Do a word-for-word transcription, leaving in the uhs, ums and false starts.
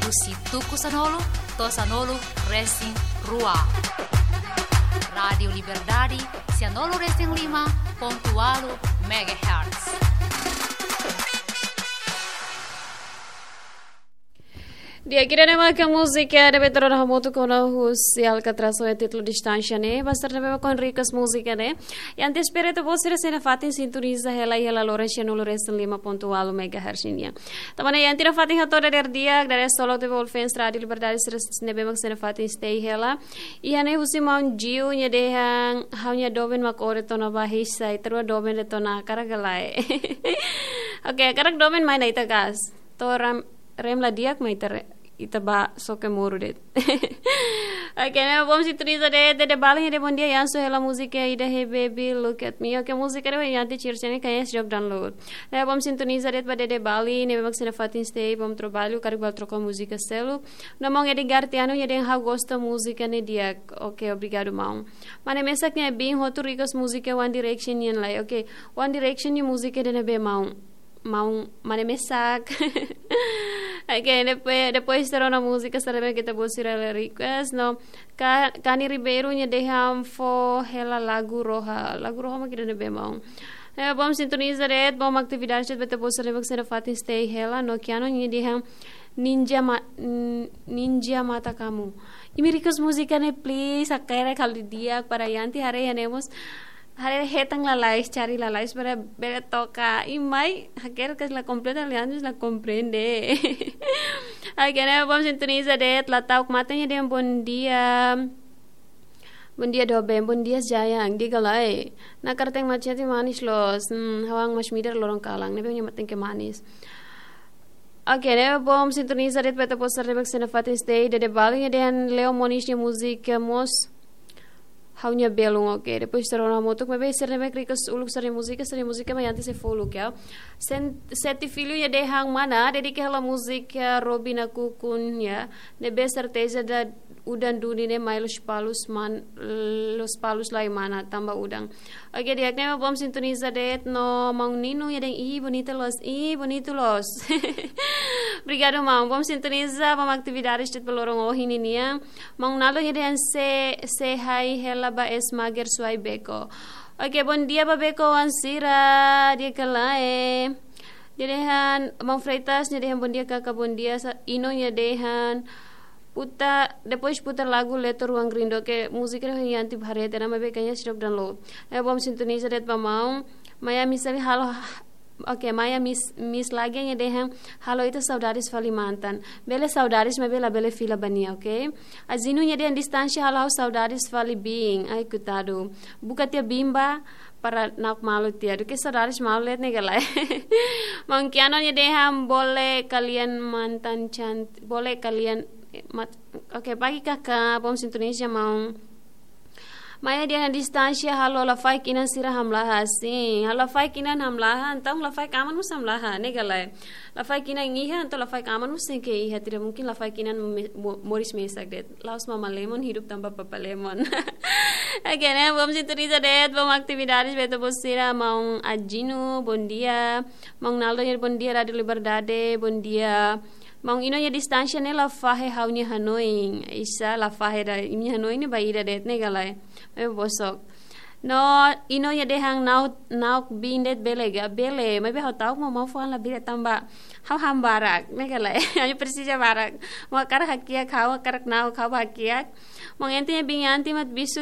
Husi tuku sanulu to'o sanulu resin rua. Rádiu Liberdade, sianulu resin lima pontu ualu megahertz. Di'ak, ida-ne'e mak múzika ne'ebé to'o ona hamutuk ona husi Alcatraz ho títulu Distância ne'e, ba sira ne'ebé mak request múzika ne'e. Iha antes, espera ita-boot sira sei nafatin sintoniza hela, hela loron sianulu resin lima pontu ualu megahertz nian. Tanba ne'e iha antes nafatin hato'o dadeer di'ak, dadeer solok atu ba all fans Rádiu Liberdade sira ne'ebé mak sei nafatin stay hela. Iha ne'e husi maun Jiu nia dehan ha'u-nia doben mak oret ona ba hisa, ita rua doben de'it ona, hakarak ka lae? Oke, hakarak doben mai ona ita gas. To'o rem, rem la di'ak mai ita re, ita ba soke moru de'it. Oke, ne'e bom sintoniza de'it, Dede Bali, Dede bom dia, Yansu, hela múzika ida, Hey Baby, Look at Me. Oke, múzika ne'e iha antes, Circe ne'e kayaknya sejak download. Ne'e bom sintoniza de'it ba Dede Bali, ne'ebé mak sei nafatin stay, bom trabalho, karik bal troka múzika seluk. No maun Edgar Tiano nia dehan ha'u gosta múzika ne'e di'ak. Oke, obrigadu maun. Mane mesak nia bin hotu request múzika One Direction nian lai. Oke, One Direction nia múzika ida-ne'ebé maun? Maun mane mesak. Oke, depois, depois to'o ona múzika sira ne'ebé ita-boot sira la request, no. Ka-, Kani Ribeiro nia dehan fó hela lagu Roha. Lagu Roha mak ida-ne'ebé maun? Eh, bom sintoniza de'it, bom atividade de'it ba ita-boot sira ne'ebé mak sei nafatin stay hela, no Kiano nia dehan Ninja Ma-, N-, Ninja Mata Kamu. Imi request múzika ne'e, please, hakarak halo didi'ak para iha antes haree iha ne'e mós. Haree hetan lalais, cari lalais para bele toka. I mai, hakarak ka la komprende, aliás, la komprende. Oke, ne'e bom sintoniza de'it, la ta'uk mate nia dehan bom dia. Bom dia, doben, bom dia, Jayang, diga lai. Nakar teng macete manis loos. Hmm, ha'u-nia mas midar loron kalan, ne'ebé nia mate ke manis. Oke, ne'e bom sintoniza de'it ba ita-boot sira ne'ebé mak sei nafatin stay, Dede Bali nia dehan Leo Moniz nia múzika mós Ha'u-nia Belun, oke. Depois to'o ona hamutuk, maibé sira ne'ebé mak request uluk sira-nia múzika, sira-nia múzika mak iha antes sei fó uluk, ya. Sen-, Seti Filho nia dehan mana, dedika hela múzika Robina Kukun, ya. Ne'ebé serteza da udan duni ne'e mai Lospalos mana, Lospalos lai mana, tanba udan. Oke, di'ak, ne'e bom sintoniza de'it no maun Nino nia dehan, ih, bonita loos, ih, bonita loos. Obrigadu, maun. Bom sintoniza, bom atividade de'it ba loron ohin nian. Maun Naldo nia dehan se, se hai hela ba es mager suai Beko. Oke, bom dia ba Beko oan sira, di'ak ka lae. Nia dehan, maun Freitas nia dehan bom dia kaka, bom dia sa, Ino nia dehan, puta, depois putar lagu Leto Ruang Rindu, ke múzika ne'e iha antes haree tiha ona, maibé kayaknya sira download. Eh, bom sintoniza de'it ba maun. Maia Miss halo, oke, Maia Miss, Miss lagi nia dehan, halo ita saudades fali mantan. Bele saudades, maibé labele fila ba nia, oke? Azinu nia dehan distánsia halo ha'u saudades fali biin. Ai, koitadu. Buka tiha biin ba, para na'ok malu tiha. Duké saudades malu de'it ne'e ka lae. Maun Kiano nia dehan boleh kalian mantan cantik, boleh kalian, eh, mat-, oke, pagi kaka, bom sintoniza maun. Maia dehan distánsia halo lafaek inan sira hamlaha, sin. Halo lafaek inan hamlaha, entaun lafaek aman mós hamlaha, ne'e ka lae. Lafaek inan iha, entaun lafaek aman mós tenke iha, tidak mungkin lafaek inan me-, mo-, moris mesak de'it. La'ós mama lemon, hidup tanpa papa lemon. Oke, ne'e, bom sintoniza de'it, bom atividades ba ita-boot sira, maun Ajinu, bom dia. Maun Naldo nia, bom dia, Rádiu Liberdade, bom dia. Maun Ino nia distánsia ne'e la fahe ha'u-nia hanoin. Isa la fahe ida, imi-nia hanoin ne'e ba ida de'it ne'e ka lae. Eh, bosok. No, Ino nia dehan na'ok, na'ok biin de'it bele ka, bele. Maibé ha'u ta'uk maun, maun fó an labele tanba ha'u han barak, ne'e ka lae. Ha'u presiza barak. Maun hakarak hakiak, ha'u hakarak na'ok, ha'u hakiak. Maun Ente nia biin anti mat bisu